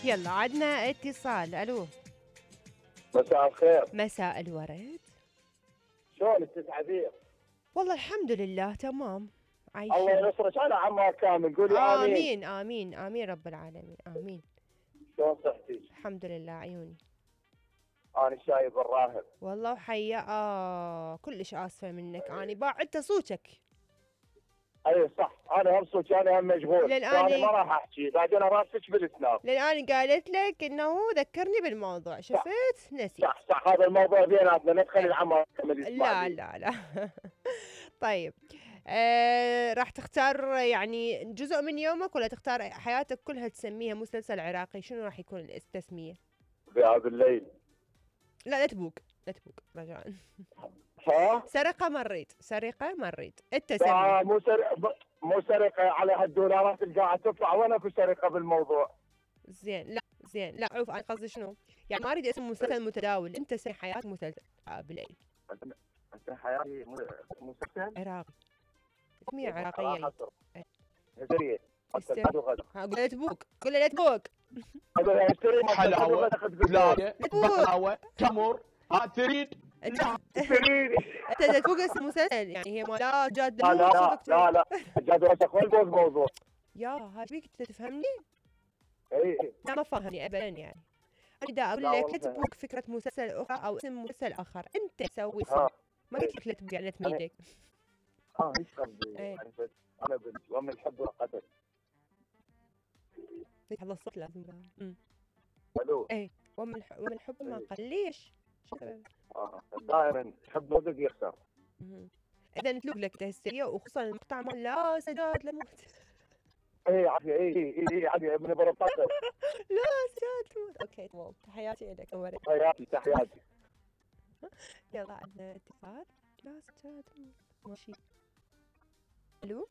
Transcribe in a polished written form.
يلا عدنا اتصال. الو. مساء الخير. مساء الورد. شلونك تسعدين؟ والله الحمد لله تمام عايشين. الله ينصرك على عمار كامل، قولي امين امين امين رب العالمين امين. شلون صحتك؟ الحمد لله عيوني. انا شايب الراهب والله وحيا كلش اسفه منك، اني باعدت صوتك. اي صح، انا هم صوتي، انا هم مشغول، انا ما راح احكي بعدين راسك بالاسنان. لان قالت لك انه ذكرني بالموضوع، شفت نسيت. صح هذا الموضوع بيناتنا، لا تخلي العمار كامل يسمع. لا طيب راح تختار يعني جزء من يومك ولا تختار حياتك كلها تسميها مسلسل عراقي؟ شنو راح يكون التسمية؟ بهذا الليل. لا تبوق رجاء. ها؟ سرقة ما نريد انت سمي. مو سرقة على هالدولارات اللي قاعد تطلع، وين اكو سرقة بالموضوع؟ زين لا عوف، انا قصدي شنو؟ يعني ما اريد اسم مسلسل متداول، انت سمي حياة مسلسل بالليل. انت حياتي مسلسل عراقي، اسمية عراقية. هدريه لا تبوق، قول لا تبوق. حلاوة بقلاوة تمر تريد انت تبوق اسم مسلسل يعني هي لا جاد. لا جاد وسخ الموضوع. يا هذيك تفهمني؟ اي لا ما فهمني ابدا يعني. اريد اقول لك لا تبوق فكرة مسلسل اخرى او اسم مسلسل اخر، انت سوي ما قلت لك لا تبوق يعني لا تميدك. ايش قصدي؟ انا بنت ومن الحب والقدر. هذا الصوت لازم الو. ايه ومن الحب ما قال ليش؟ دائما حب مدق يخسر. اذا نتلوك لك تهسية، وخصوصا المقطع مال لا سجاد لموت. اي عافية اي عافية من بربطة. لا سجاد تموت. اوكي تمام، تحياتي لك امورك. تحياتي. يلا عندنا اتصال. لا سجاد ماشي. الو.